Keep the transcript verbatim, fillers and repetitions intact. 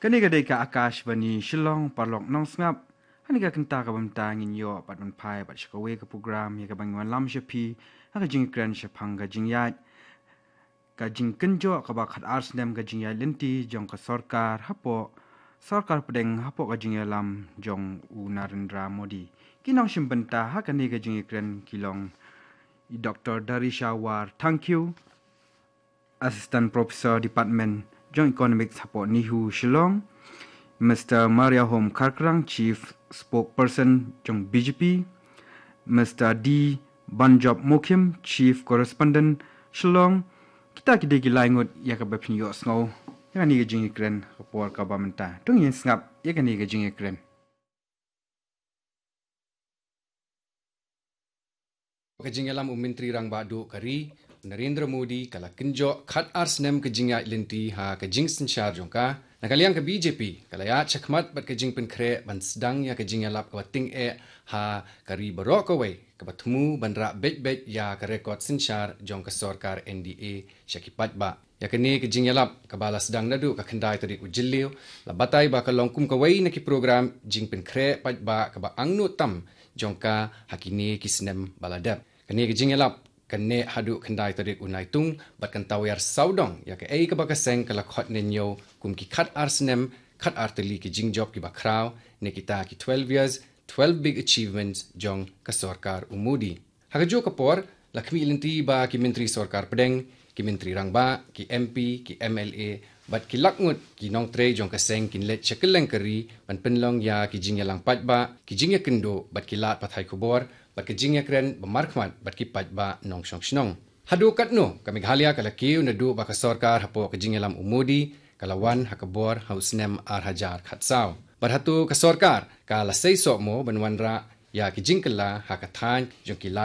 Kane ka dei ka Akashvani Shillong, paralok nongsngap. Hane ka kynta kaba mynta ngin ïoh pat ban phai pat sha kawei ka program ïa kaba ngin wanlam sha phi ha ka jingkren shaphang ka jingïaid, ka jingkynjoh kaba khatar snem ka jingïaid lynti jong ka sorkar hapoh, sorkar pdeng hapoh ka jingïalam jong u Narendra Modi. Ki nongshim bynta ha kane ka jingkren ki long i Doctor Darisha War Thangkhiew, Assistant Professor Department jong Economics hapoh NEHU Shillong, Mister Mariahom Kharkrang, Chief Spokesperson jong B J P, Mister D Banjop Mokhim, Chief Correspondent Shillong. Kita ki dei ki lai ngut ïa kaba phin ïohsngew ïa kane ka jingkren ha ka por kaba mynta. To ngin sngap ïa kane ka jingkren. Ka jingïalam u Myntri Rangbah Duh ka ri, Narendra Modi, ka la kynjoh khatar snem ka jingïaid lynti ha ka jingsynshar jong ka. Na ka liang ka B J P ka la ïaid shakhmat bad ka jingpynkhreh ban sdang ïa ka jingïalap kaba tyngeh ha ka ri baroh kawei, kaba thmu ban rah beit beit ïa ka rekod synshar jong ka sorkar N D A sha ki paidbah. Ïa kane ka jingïalap kaba la sdang naduh ka khyndai tarik u Jylliew la batai ba ka long kum kawei na ki program jingpynkhreh paidbah kaba angnud tam jong ka ha kine ki snem ba la dep. Kane ka jingïalap kan neh haduh khyndai tarik u Naitung bad kan tawiar sawdong ïa kaei kaba ka seng ka la khot ne ñiew kum ki khatar snem, khatar tylli ki jingjop kiba khraw, ne kita ki twelve years, twelve big achievements jong ka sorkar u Modi. Ha kajuh ka por, la khmih lynti ba ki myntri sorkar pdeng, ki myntri rangbah, ki M P, ki M L A, bad ki lak ngut ki nongtrei jong ka seng kin leit sha kylleng ka ri ban pynlong ïa ki jingïalang paidbah, ki jingïakynduh bad ki lad pathai khubor bad ka jingïakren ba markhmat bad ki paidbah nongshong shnong. Haduh katno ka Meghalaya ka la kiew naduh ba ka sorkar hapoh ka jingïalam u Modi ka la wan ha ka bor ha u snem ar hajar khatsaw. Bad hato ka sorkar ka la sei soh mo ban wanrah ïa ki jingkylla ha ka thaiñ jong ki lad